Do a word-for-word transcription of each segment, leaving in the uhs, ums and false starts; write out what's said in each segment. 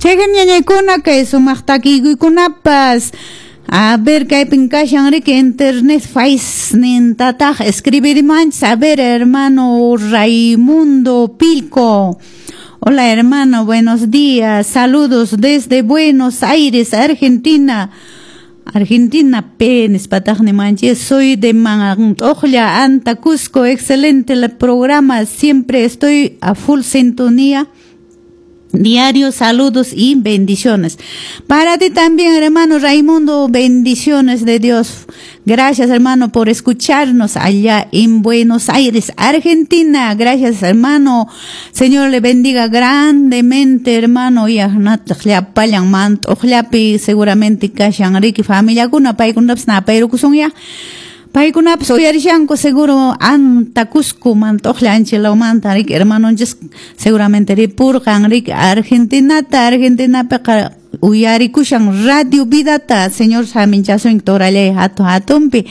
Chayqa ñañaykuna kay sumaq takiykunapas. A ver, kaypin kashan riki internet face nintataq escribirimanchis. A ver, hermano Raimundo Pilco. Hola, hermano, buenos días. Saludos desde Buenos Aires, Argentina. Argentina P, nispataqni manchis. Soy de Mantojla, Anta, Cusco. Excelente el programa. Siempre estoy a full sintonía. Diario, saludos y bendiciones. Para ti también, hermano Raimundo, bendiciones de Dios. Gracias, hermano, por escucharnos allá en Buenos Aires, Argentina. Gracias, hermano. Señor le bendiga grandemente, hermano. Y seguramente kashan riki familiakuna paykunapas napayrukusunya. Paykunapas uyarishanku seguro Anta Cusco Mantojla anchilawmanta riki hermanonchis seguramente ripurqan riki Argentinata Argentinapiqa uyarikushan Radio Vidata. Señor saminchasun torallay hatun hatunpi.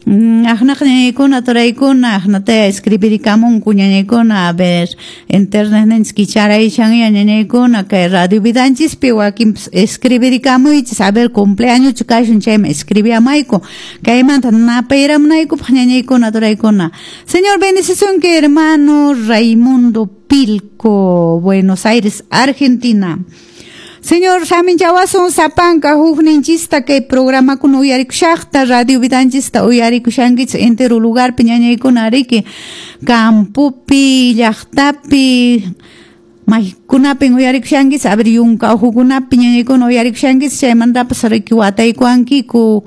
Aqnaq ñañaykuna turaykuna aqnataya escribirikamunku ñañaykuna. A ver, internet ninchis kicharayshanya ñañaykuna kay Radio Vidanchispi wakinpas escribirikamuychis. A ver, cumpleaños kashun chayman escribiamayku kaymanta napayramunaykupaq ñañaykuna turaykuna. Señor bendicisunki, hermano Raimundo Pilco, Buenos Aires, Argentina. Señor saminchawasun sapanka hukninchista kay programakuna uyarikushaqta Radio Vidanchista uyarikushankichis entero lugarpi ñañaykuna riki campopi llaqtapi maykunapin uyarikushankichis. A ver, yunka uhukunapi ñañaykuna uyarikushankichis chaymantapas riki wataykuwankiku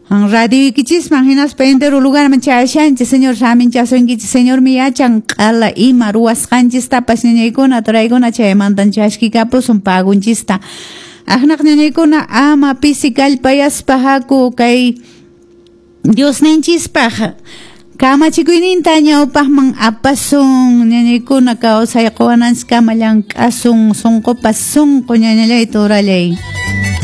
radioykichisman hinaspa entero lugarman chayashanchis. Señor saminchasunkichis. Señor mi yachan q'ala ima ruwasqanchistapas ñañaykuna turaykuna chaymantan chaskikapusun pagunchista. Aqnaq ñañaykuna ama pisi kallpayaspa haku kay Diosninchispaq kamachikuyninta ñawpaqman apasun ñañaykuna kawsay quwananchiskama llank'asun sunqupas sunqu ñañallay turallay.